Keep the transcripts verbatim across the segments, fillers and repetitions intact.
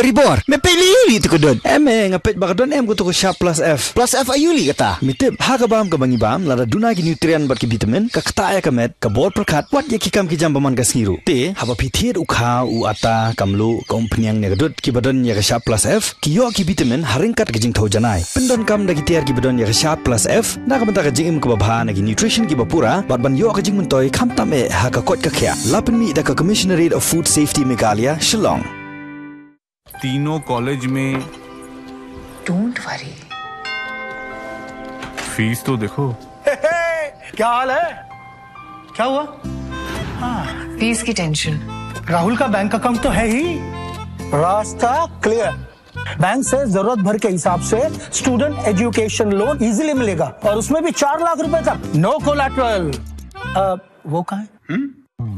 Ribor, me peit li li tu ka dud. Em, eh, nga peit ba ka don em ka tu ka Sharp Plus F. Plus F aïu li kata? Me tip, ha ka bam ka ba ngi bam, lada duna ki nutrient bad ki vitamin, ka ktah ïa ka met, ka bor pyrkhat, wat ïa ki kam ki jam ba man ka sngi ruh. Te, haba phi thied u kha, u ata, ka mluh, ka umphniang ne ka dud, ki ba don ïa ka Sharp Plus F, ki ïoh ki vitamin, ha ryngkat ka jingthew janai. Pyndonkam da ki tiar ki ba don ïa ka Sharp Plus F, na ka bynta ka jingim ka ba bha na ki nutrition ki ba pura, bad ban ïoh ka jingmyntoi, khamtam eh, ha ka koit ka khiah. La pynmih da ka Commissionerate of Food Safety Meghalaya, Shillong. तीनों कॉलेज में। Don't worry। फीस तो देखो। क्या हाल है? क्या हुआ? हाँ। फीस की टेंशन। राहुल का बैंक अकाउंट तो है ही। रास्ता क्लियर। बैंक से जरूरत भर के हिसाब से स्टूडेंट एजुकेशन लोन इजीली मिलेगा, और उसमें भी चार लाख रुपए तक, नो कोलैटरल। वो कहाँ है?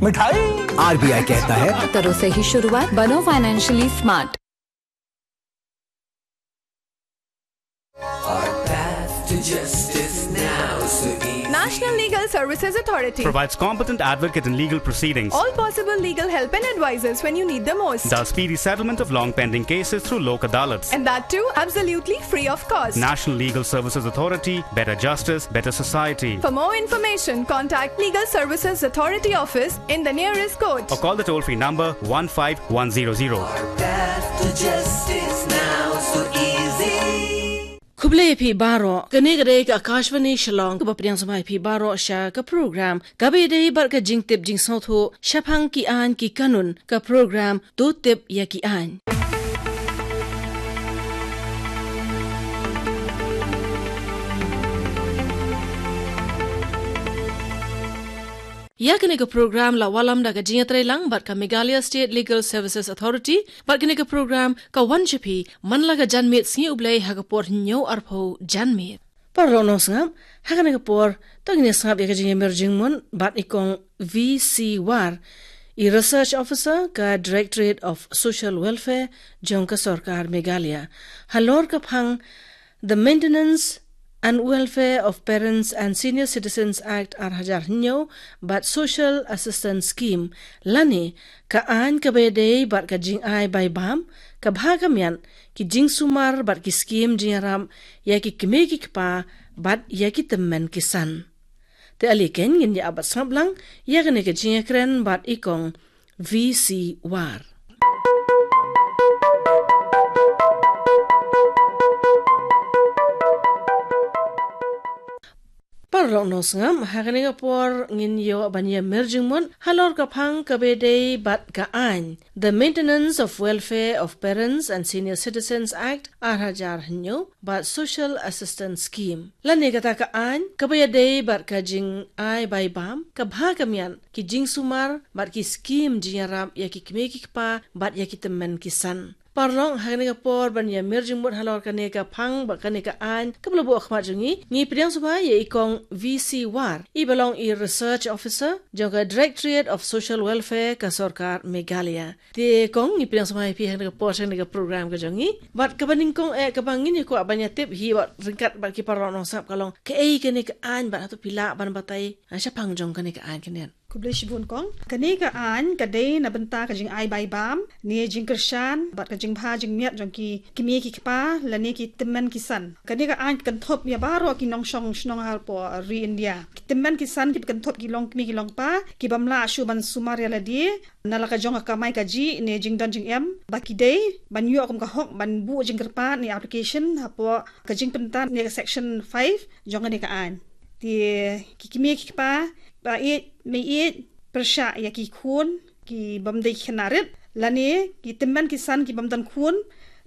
मिठाई। आरबीआई कहता है, करो सही शुरुआत, बनो फाइनेंशियली स्मार्ट। Our path to justice now so easy. National Legal Services Authority provides competent advocate in legal proceedings. All possible legal help and advices when you need the most. Does speedy settlement of long pending cases through Lok Adalats. And that too absolutely free of cost. National Legal Services Authority, better justice, better society. For more information, contact Legal Services Authority office in the nearest court. Or call the toll-free number one five one zero zero. Path to justice now so easy. Khublei phi baroh, kane ka dei ka Akashvani Shillong, kaba pdiang sngewbha ïa phi baroh sha ka program kaba ïadei bad ka jingtip jingsngewthuh shaphang ki aiñ ki kanun, ka program To Tip ïa ki Aiñ. Ïa kane ka program la wallam da ka jingïatreilang bad ka Meghalaya State Legal Services Authority, bad kane ka program ka wan sha phi man la ka janmiet sngi U Blei ha ka por hynñiew arphew janmiet. Paralok nongsngap, ha kane ka por, to ngin ïa sngap ïa ka jingïamir jingmut bad i Kong V C War, i Research Officer ka Directorate of Social Welfare jong ka Sorkar Meghalaya, halor ka phang The Maintenance and Welfare of Parents and Senior Citizens Act ar hajar hynñiew bad Social Assistance Scheme, lane ka aiñ kaba ïadei bad ka jingai bai bam, ka bha ka miat, ki jingsumar bad ki skim jingïarap ïa ki kmie ki kpa bad ïa ki tymmen ki san. Te ale keiñ ngin ïa ap bad sngap lang ïa kane ka jingïakren bad i Kong V C War. Paralok nongsngap, ha kane ka por ngin ïoh ban ïamir jingmut halor ka phang kaba ïadei bad ka aiñ, The Maintenance of Welfare of Parents and Senior Citizens Act ar hajar hynñiew bad Social Assistance Scheme, lane kata ka aiñ kaba ïadei bad ka jingai bai bam, ka bha ka miat, ki jingsumar bad ki skim jingïarap ïa ki kmie ki kpa bad ïa ki tymmen ki san. Paralok, ha kane ka por ban ïamir jingmut halor kane ka phang bad kane ka aiñ kaba la buh ha khmat jong ngi, ngi pdiang sngewbha ïa i Kong V C War, i ba long i Research Officer jong ka Directorate of Social Welfare ka Sorkar Meghalaya. Te Kong, ngi pdiang sngewbha ïa phi ha kane ka por, ha kane ka program ka jong ngi. Bad kaba nyngkong eh, kaba ngin ïa kwah ban ïatip hi bad ryngkat bad ki paralok nongsngap ka long, kaei kane ka aiñ bad hato phi lah ban batai shaphang jong kane ka aiñ kane. Khublei shibun Kong. Kane ka aiñ ka dei na bynta ka jingai bai bam, ne jingkyrshan bad ka jingbha jingmiat jong ki kmie ki kpa lane ki tymmen ki san. Kane ka aiñ ka kynthup ïa baroh ki nongshong shnong hapoh ri India. Ki tymmen ki san kiba kynthup ki longkmie ki longkpa, ki bym lah shuh ban sumar ïa lade na la ka jong ka kamai kajih ne jingdon jingem, ba ki dei ban ïoh kum ka hok ban buh jingkyrpad ne application hapoh ka jingpyntat ne ka section five jong kane ka aiñ. Te ki kmie ki kpa ba ïeit, mei ïeit, pyrshah ïa ki khun ki bym dei ki khynnah rit, lane ki tymmen ki san ki bym don khun,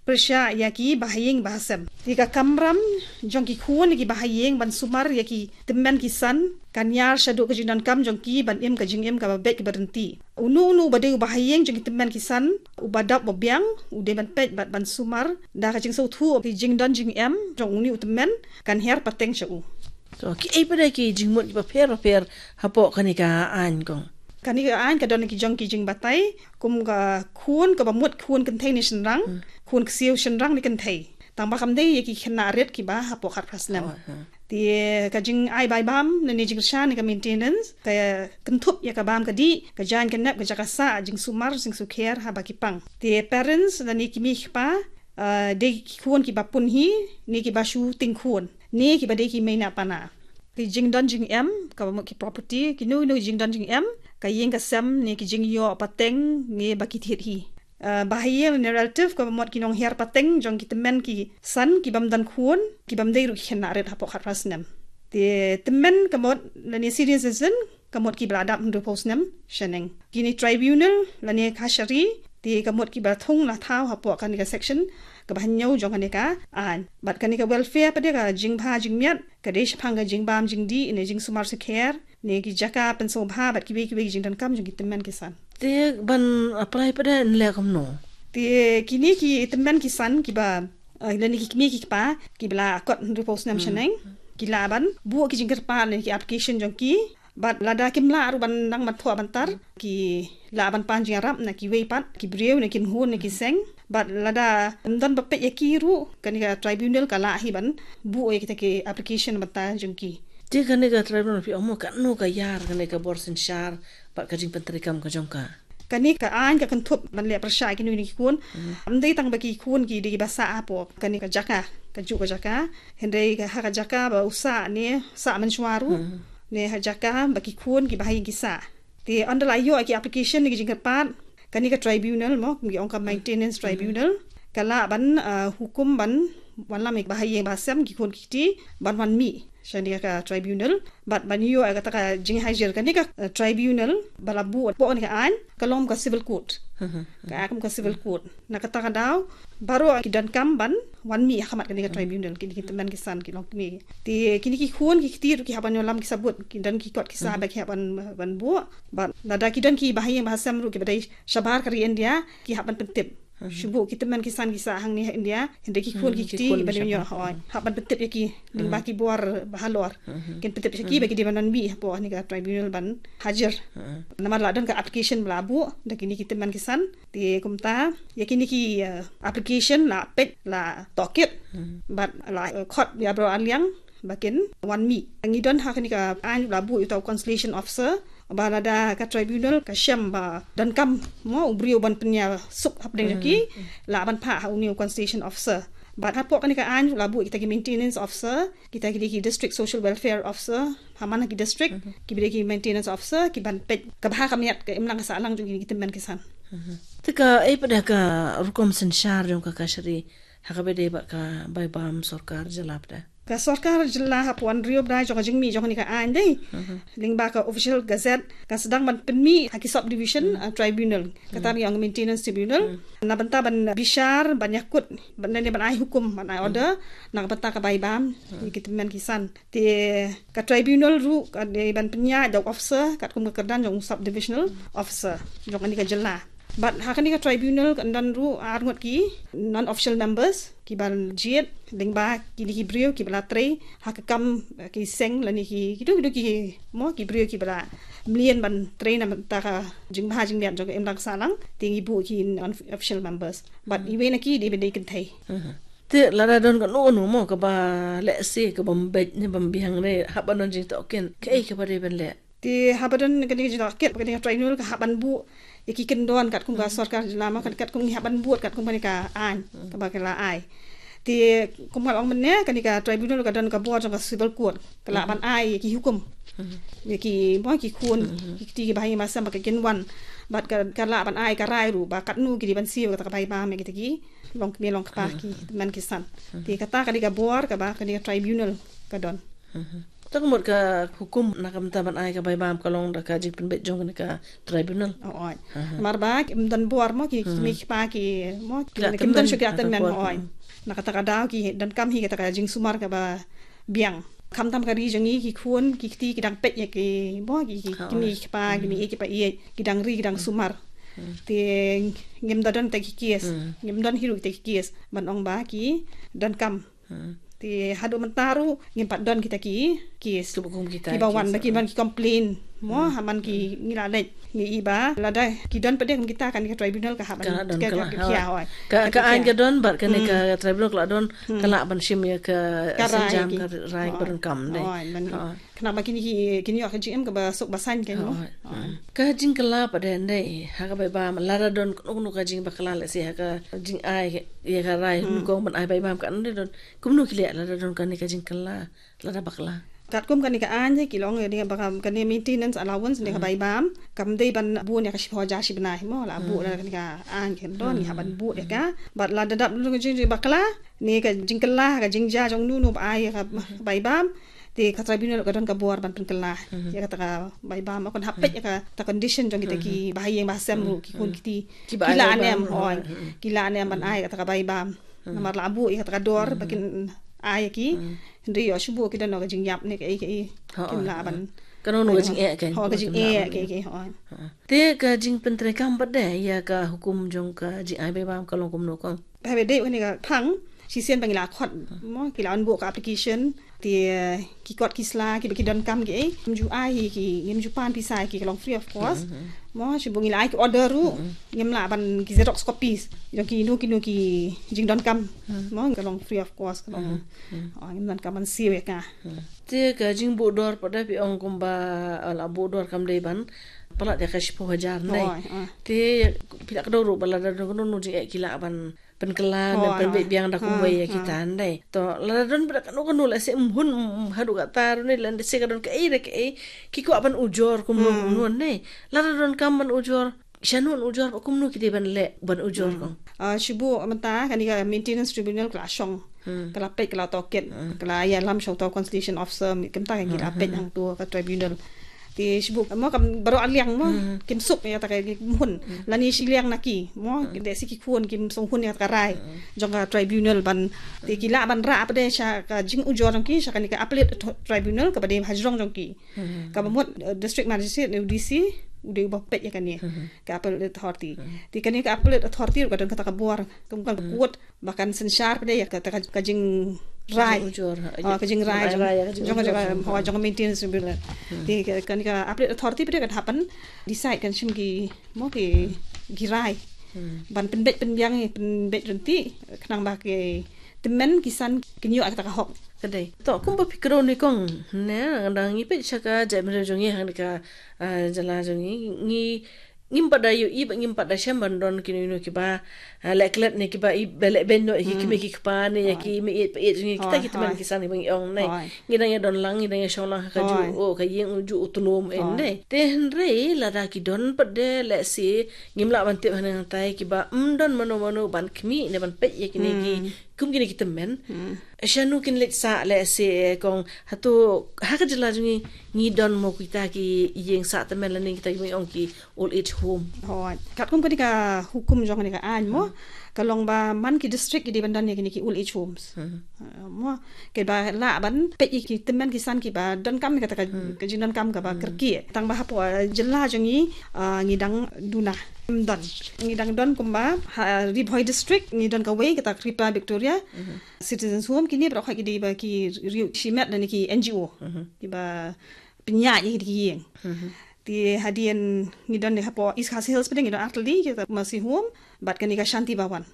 pyrshah ïa ki bahaïing bahasem. Te ka kamram jong ki khun ki bahaïing ban sumar ïa ki tymmen ki san, kan ïar shaduh ka jingdonkam jong ki ban im ka jingim kaba beit kaba ryntih. Uno uno uba dei u bahaïing jong ki tymmen ki san, uba dap uba biang, u dei ban peit bad ban sumar da ka jingsngewthuh ki jingdon jingem jong une u tymmen, kan hiar pateng sha u. To, kiei pat de ki jingmut kiba pher bapher hapoh kane ka aiñ, Kong? Kane ka aiñ ka don ki jong ki jingbatai, kum ka khun kaba mut khun kynthei ne shynrang, hmm, khun ksiew shynrang ne kynthei. Tang ba kam dei ïa ki khynnah rit kiba hapoh khatphra snem. Oh, hmm. Te ka jingai bai bam lane jingkyrshan ne ka maintenance ka kynthup ïa ka bam ka dih, ka jaiñ ka nep, ka jaka sah, jingsumar jingsukher haba ki pang. Te parents lane ki mei ki kpa, ah, dei ki khun kiba pun hi ne kiba shu tieng khun ne kiba dei ki mei na pana. Ki jingdon jingem kaba mut ki property, kino kino ki jingdon jingem, ka ïing ka sem ne ki jingïoh pateng ne ba ki thied hi. Ah, ba ha ïing ne relative kaba mut ki nonghiar pateng jong ki tymmen ki san ki bym don khun, ki bym dei ruh ki khynnah rit hapoh khatphra snem. Te tymmen ka mut lane senior citizen ka mut kiba la dap hynriewphew snem shaneng. Kine tribunal lane kashari te ka mut kiba thung la thaw hapoh kane ka section kaba hynñiew jong kane ka aiñ. Bad kane ka welfare pat de, ka jingbha jingmiat, ka dei shaphang ka jingbam jingdih ne jingsumar sukher ne ki jaka pynsngewbha bad kiwei kiwei ki jingdonkam jong ki tymmen ki san. Te ban apply pat de yn leh kumno? Te kine ki tymmen ki san kiba, eh, lane ki kmie ki kpa kiba la kot hynriewphew snem shaneng, ki lah ban buh ki jingkyrpad ne ki application jong ki. Bad lada kim lah ruh ban nang ban thoh ban tar, ki lah ban pan jingïarap na kiwei pat ki briew ne ki nkhun ne ki seng. Bad lada ym don ba peit ïa ki ruh, kane ka tribunal ka lah hi ban buh ïa kita ki application bynta jong ki. Te kane ka tribunal phi ong mo, katno ka ïar kane ka bor synshar bad ka jingpyntreikam ka jong ka? Kane ka aiñ ka kynthup ban leh pyrshah ïa kino kino ki khun. Ym dei tang ba ki khun ki dei kiba sah hapoh kane ka jaka, kajuh ka jaka, hynrei ka ha ka jaka ba u sah ne sah mynshuwa ruh, ne ha jaka ba ki khun kiba ha ïing ki sah. Te ynda la ïoh ïa ki application ne ki jingkyrpad, kane ka tribunal mo, ki ong ka maintenance tribunal, ka lah ban, ah, hukum ban wanlam ïa ki ba ha ïing ba ha sem, ki khun ki kti, ban wan mih sha kane ka tribunal. Bad ban ïoh ïa kata ka jinghajir, kane ka, eh, tribunal ba la buh hapoh kane ka aiñ ka long ka civil court. Ka kum ka civil court. Na kata ka daw baroh ki donkam ban wan mih ha khmat kane ka tribunal, kine ki tymmen ki san ki longkmie. Te kine ki khun ki kti ruh ki hap ban ïoh lam ki sabut, ki don ki kot ki sah ba ki hap ban, ban buh. Bad lada ki don ki ba ha ïing ba ha sem ruh kiba dei shabar ka ri India, ki hap ban pyntip. Shu buh ki tymmen ki san ki sah hangne ha India, hynrei ki khun ki kti ban ïoh, hooid, hap ban pyntip ïa ki lyngba ki bor ba halor. Kin pyntip ïa ki ba ki dei ban wan mih hapoh kane ka tribunal ban hajir. Namar la don ka application ba la buh da kine ki tymmen ki san. Te kumta ïa kine ki, eh, application la peit, la tohkit, bad la, eh, khot ïa baroh arliang ba kin wan mih. Ngi don ha kane ka aiñ la buh ïa uta u conciliation officer, ba lada ka tribunal ka shem ba donkam mo u briew ban pynïasuk hapdeng jong ki, lah ban phah ha une u conciliation officer. Bad hapoh kane ka aiñ la buh kita ki maintenance officer, kita ki dei ki district social welfare officer, ha man ki district kiba dei ki maintenance officer, ki ban peit ka bha ka miat, ka imlang ka sahlang jong kine ki tymmen ki san. Te kaei pat de ka rukom synshar jong ka kashari ha kaba ïadei bad ka bai bam sorkar jylla pat de? Ka sorkar jylla hapoh hynriew bnai jong ka jingmih jong kane ka aiñ de, lyngba ka official gazette, ka sdang ban pynmih ha ki subdivision, ah, tribunal, kata ngi ong maintenance tribunal, na bynta ban bishar, ban ïakut, ban, ne ban ai hukum, ban ai order na ka bynta ka bai bam ïa ki tymmen ki san. Te ka tribunal ruh ka dei ban pynïaid da u officer katkum ka kyrdan jong u subdivisional officer jong kane ka jylla. Bad ha kane ka tribunal kan don ruh ar ngut ki non official members kiban jied lyngba kine ki briew kiba la trei ha ka kam, eh, ki seng lane ki, kito kito ki mo ki briew kiba la mlien ban trei na bynta ka jingbha jingmiat jong ka imlang sahlang, te ngi buh ki non official members. Bad iwei na ki dei ban dei kynthei. Te lada don kano kano mo kaba lehse ka bym beit ne bym biang ne hap ban don jingtohkit, kaei kaba dei ban leh? Te haba don kane ka jingtohkit, kane ka tribunal ka hap ban buh ïa ki kyndon katkum ka sorkar jylla mo, kat-, katkum ngi hap ban buh katkum kane ka aiñ kaba ka la ai. Te kum ka la ong mynne, kane ka tribunal ka don ka bor jong ka civil court, ka lah ban ai ïa ki hukum ïa ki mo ki khun ki kti kiba ha ïing ba ha sem ba ka kin wan. Bad ka, ka lah ban ai ka rai ruh ba katno ki dei ban siew kata ka bai bam ïa kita ki longkmie longkpa, ki tymmen ki san. Te kata ka dei ka bor kaba kane ka tribunal ka don. Te ka mut ka hukum na ka bynta ban ai ka bai bam ka long da ka jingpynbeit jong kane ka tribunal. Hooid. Namar ba kim don bor mo ki, ki mei ki kpa ki mo ki, kim don shuh ki tymmen, hooid. Na kata ka daw ki donkam hi kata ka jingsumar kaba biang. Khamtam ka ri jong ngi, ki khun ki kti ki dang peit ïa ki mo ki, ki mei ki kpa, ki mei ki pa ïeit, ki dang ri ki dang sumar. Te ngim da don kita ki case, ngim don hi ruh kita ki case ban ong ba ki donkam. Te haduh mynta ruh ngim pat don kita ki case kiba wan ba ki ban ki complain Mo, ha man ki ngi la leit, ngi i ba lada ki don pat de kum kita, kane ka tribunal ka hap ban, ka don, ka la, ka don, ka, ka aiñ ka don bad kane ka tribunal ka la don, ka lah ban shim ïa ka, ka rai, ka rai ba donkam de. Khnang ba kine ki, kin ïoh ka jingim kaba suk ba saiñ kein mo. Ka jingkylla pat de, ha ka bai bam, lada don kano kano ka jingbakyla, lehse ha ka jingai ïa ka rai, nyngkong ban ai bai bam, kano de don, kumno ki leh lada don kane ka jingkylla, lada bakla? Katkum kane ka aiñ ki long, ïa ba kane maintenance allowance ne ka bai bam, kam dei ban bun ïa ka shiphew hajar shi bnai mo, la buh da kane ka aiñ, ka don, ïa ban buh ïa ka. Bad lada dap don ka jingbakla ne ka jingkylla, ka jingjia jong uno uno ba ai ïa ka bai bam, te ka tribunal ka don ka bor ban pynkylla ïa kata ka bai bam, mo, kan hap peit ïa kata condition jong kita ki bahaïing bahasem ruh, ki khun kti, ki lah ne em, hooid, ki lah ne em ban ai kata ka bai bam. Namar la buh ïa kata ka dor ba kin ai ïa ki. Hynrei ïoh shu buh ki don ka jingïap ne kaei kaei, kim lah ban, kano kano ka jingeh kein, hooid, ka jingeh kaei kaei, hooid. Te ka jingpyntreikam pat de ïa ka hukum jong ka jingai bai bam ka long kumno kong? Ba haba dei kane ka phang, shisien ba ngi la khot mo, ki la wan buh ka application, te ki kot ki sla kiba ki donkam kiei, ngim ju ai hi ki, ngim ju pan pisa hi ki, ka long free of cost. Mo, shibun ngi la ai ki order ruh, ngim lah ban, ki xerox copies jong kino kino ki jingdonkam. Mo, ka long free of cost, ka long, ngim donkam ban siew ïa ka. Te ka jingbuh dor pat de, phi ong kumba la buh dor kam dei ban palat ïa ka shiphew hajar ne. Te phi la kdew ruh ba lada don kano kano jingeh ki lah ban pynkylla ne pynbeit biang da kumwei ïa kita ne. To lada don pat de kano kano, lehse ym hun, haduh katta ruh ne, lehse ka don kaei re kaei, ki kwah ban ujor kumno kumno ne. Lada donkam ban ujor, shano ujor, ba kumno ki dei ban leh ban ujor kong? Shibun mynta kane ka maintenance tribunal ka la shong, ka la peit, ka la tohkit, ka la ïalam sha uto consultation officer, mynta ka ngi la peit hangto ka tribunal. Te shibun mo, kam baroh arliang mo, kim suk ïa kata ka, kim hun lane shiliang na ki mo, lehse ki khun kim sngewhun ïa kata ka rai jong ka tribunal ban, te ki lah ban rah pat de sha ka jingujor jong ki sha kane ka appellate tribunal kaba dei hajrong jong ki. Kaba mut district magistrate ne u D C u dei uba peit ïa kane ka appellate authority. Te kane ka appellate authority ruh ka don kata ka bor, kum ka court, ba kan synshar pat de ïa kata ka jingrai, ka jingrai jong ka maintenance tribunal. Te kane ka appellate authority pat de kan hap ban decide, kan shim ki mo ki rai ban pynbeit pynbiang, pynbeit ryntih, khnang ba ki tymmen ki san kin ïoh kata ka hok. Ka dei. To kumba phi kdew ne kong ne, dang ngi peit sha ka jaitbynriew jong ngi ha kane ka jylla jong ngi, ngi ngim pat da ïohi bad ngim pat da shem ban don kino kino kiba leh klet ne kiba i ba leh beiñ noh ïa ki kmie ki kpa ne ïa ki meiieit paieit jong ngi, kita ki tymmen ki san kiba ngi ong ne. Ngi dang ïa don lang, ngi dang ïa shong lang ha kajuh, oh, ka ïing u juh u tlum ne. Te hynrei lada ki don pat de, lehse ngim lah ban tip hangne hangtai, kiba ym don mano mano ban khmih ne ban peit ïa kine ki, kum kine ki tymmen. Shano kin leit sah, lehse kong, hato ha ka jylla jong ngi ngi don mo kita ki ïing sah tymmen lane kita kiba ngi ong ki old age home? Hooid. Katkum kane ka hukum jong kane ka aiñ mo, ka long ba man ki district ki dei ban don ïa kine ki old age homes. Mo, kiba lah ban peit ïa ki tymmen ki san kiba donkam ïa kata ka jingdonkam kaba kyrkieh. Tang ba hapoh jylla jong ngi ngi dang duna, ym don. Ngi dang don kumba ha Ri Bhoi district ngi don kawei, kata Kripa Victoria Citizens Home. Kine baroh ki dei ba ki riew shimet lane ki N G O kiba pynïaid ïa ki ïing. Te hadien ngi don hapoh East Khasi Hills pat de ngi don artylli, kita Mercy Home bad kane ka Shanti Bhawan.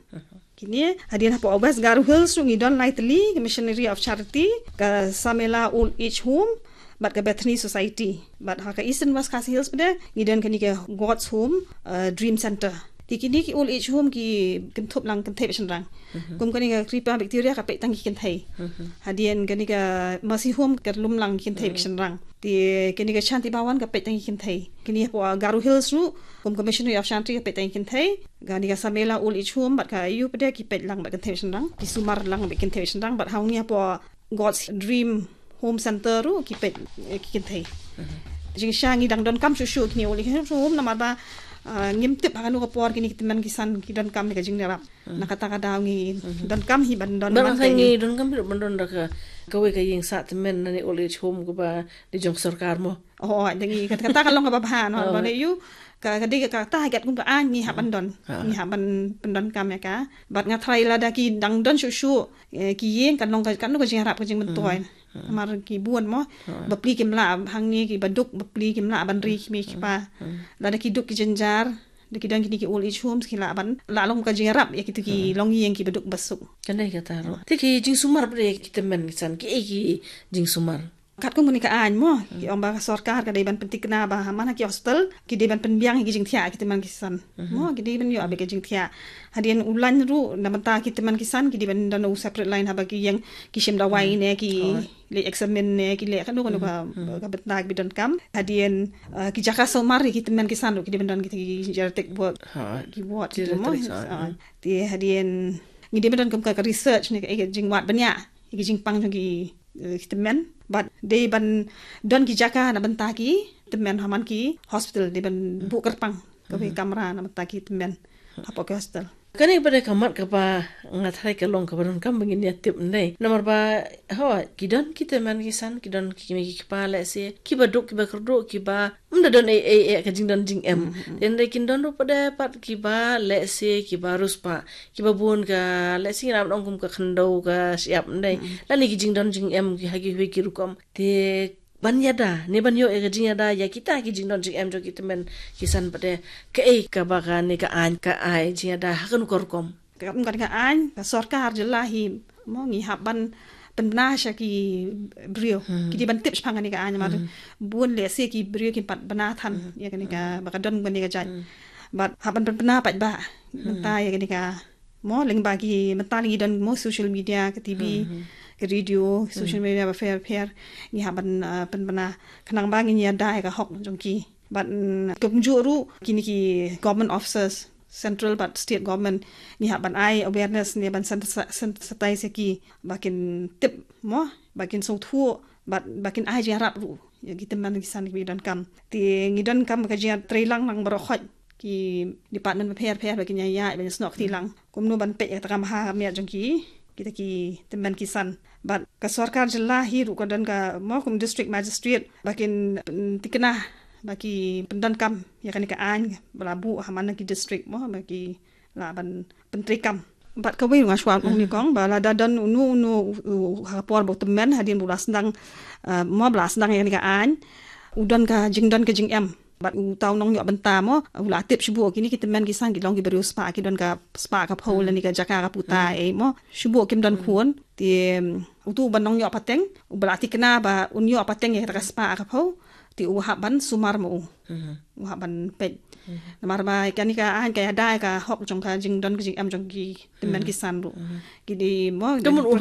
Kine hadien hapoh West Garo Hills ruh ngi don laitylli, ka Missionary of Charity, ka Samela Old Age Home bad ka Bethany Society. Bad ha ka Eastern West Khasi Hills pat de ngi don kane ka God's Home Dream Center. Te kine ki old age home ki kynthup lang kynthei bad shynrang. Kum kane ka Kripa Victoria ka peit tang ki kynthei. Hadien kane ka Mercy Home ka lum lang ki kynthei bad shynrang. Te kane ka Shanti Bhawan ka peit tang ki kynthei. Kine hapoh Garo Hills ruh, kum ka Missionary of Shanti ka peit tang ki kynthei. Kane ka Samela Old Age Home bad ka ïu pat de ki peit lang bad kynthei bad shynrang. Ki sumar lang bad kynthei bad shynrang, bad hangne hapoh God's Dream Home Center ruh ki peit ki kynthei. Jingshisha ngi dang donkam shuh shuh kine old age home namar ba ngim tip ha kano ka por kine ki tymmen ki san ki donkam ïa ka jingïarap. Na kata ka daw ngi donkam hi ban don, ngi donkam hi ban don da kawei ka ïing sah tymmen lane old age home kaba dei jong sorkar mo. Oh, dang ngi kata ka long kaba bha, namar ba ne ïu ka dei kata ha kat kum ka aiñ ngi hap ban don, ngi hap ban pyndonkam ïa ka. Bad nga tharai lada ki dang don shuh shuh ki ïing, kan long ka, kan long ka jingïarap, ka jingmyntoi. Mar ki bun mo, bapli kim lah hangne, ki baduk bapli kim lah ban ri ki mei ki pa. Lada ki duk ki jynjar, da ki don kine ki old age homes, ki lah ban, lah long ka jingïarap ïa kito ki longïing ki baduk basuk. Kane kata ruh. Te ki jingsumar pat ïa ki tymmen ki san, ki ei ki jingsumar. Katkum kane ka aiñ mo, ki ong ba ka sorkar ka dei ban pyntikna ba ha man ha ki hospital ki dei ban pynbiang ïa ki jingthiah ki tymmen ki san. Mo, ki dei ban ïoh beit ki jingthiah. Hadien u lain ruh na bynta ki tymmen ki san ki dei ban don u separate line haba ki ïeng ki shim dawai ne ki leit examine ne ki leit kano kano ka, ka bynta kiba donkam. Hadien, uh, ki jaka sumar ïa ki tymmen ki san ruh ki dei ban don kita ki geriatric ward, ki ward kito mo. Te hadien ngi dei ban donkam ka, ka research ne ka, ka jingwad bniah ïa ki jingpang jong ki, eh, ki tymmen. Bad dei ban don ki jaka na bynta ki tymmen ha man ki hospital, dei ban buh kyrpang kawei kamra na bynta ki tymmen hapoh ki hospital. Kane pat ka mat kaba nga tharai ka long kaba donkam ba ngin ïa tip ym dei. Namar ba, ho, ki don ki tymmen ki san, ki don ki mei ki pa lehse kiba duk kiba kyrduh kiba ym da don ei ei ei ka jingdon jingem. Te ynda kin don ruh pat de pat kiba lehse kiba riewspah, kiba bun ka lehse ngin ong kum ka khyndew ka shyiap ym dei. Lane ki jingdon jingem ki ha kiwei ki rukom. Te ban ïada ne ban ïoh ïa ka jingïada ïa kita ki jingdon jingem jong ki tymmen ki san pat de, kaei kaba kane ka aiñ ka ai jingïada ha kano ka rukom? Ka, kane ka aiñ ka sorkar jylla hi mo ngi hap ban pynbna sha ki briew ki dei ban tip shaphang kane ka aiñ, namar bun lehse ki briew kim pat bna than ïa kane ka, ba ka don kane ka jait. Bad hap ban pynbna pat ba mynta ïa kane ka mo, lyngba ki, mynta ngi don mo social media, ka T V, ka radio, social media bapher bapher, ngi hap ban, uh, pynbna khnang ba ngin ïada ïa ka hok jong ki. Bad, mm, kumjuh ruh kine ki government officers, central bad state government, ngi hap ban ai awareness ne ban sensa-, sensitize ïa ki ba kin tip mo, ba kin sngewthuh, bad ba kin ai jingïarap ruh ïa ki tymmen ki san kiba donkam. Te ngi donkam ka jingïatreilang lang baroh khoit ki department bapher bapher ba kin ïa ïa ban snoh kti lang kumno ban peit ïa kata ka maha ka miat jong ki, kita ki tymmen ki san. Bad ka sorkar jylla hi ruh ka don ka mo kum district magistrate ba kin, mm, tikna ba ki pyndonkam ïa kane ka aiñ ba la buh ha man ki district mo ba ki lah ban pyntreikam. Bad kawei nga shu ong nyngkong ba lada don uno uno u, u, ha ka por ba u tymmen hadien ba u la sdang, uh, mo ba la sdang ïa kane ka aiñ, u don ka jingdon ka jingem. Bad uta u nongïoh bynta mo u la tip shibun kine ki tymmen ki san ki long kiba riewspah, ki don ka spah ka phew lane ka jaka ka puta ei mo. Shibun kim don khun. Te, um, utu uba nongïoh pateng uba la tikna ba un ïoh pateng ïa kata ka spah ka phew, te u hap ban sumar ma u. U hap ban peit. Namar ba kane ka aiñ ka ïada ïa ka hok jong ka jingdon ka jingem jong ki tymmen ki san ruh. Ki dei mo, te mun u hap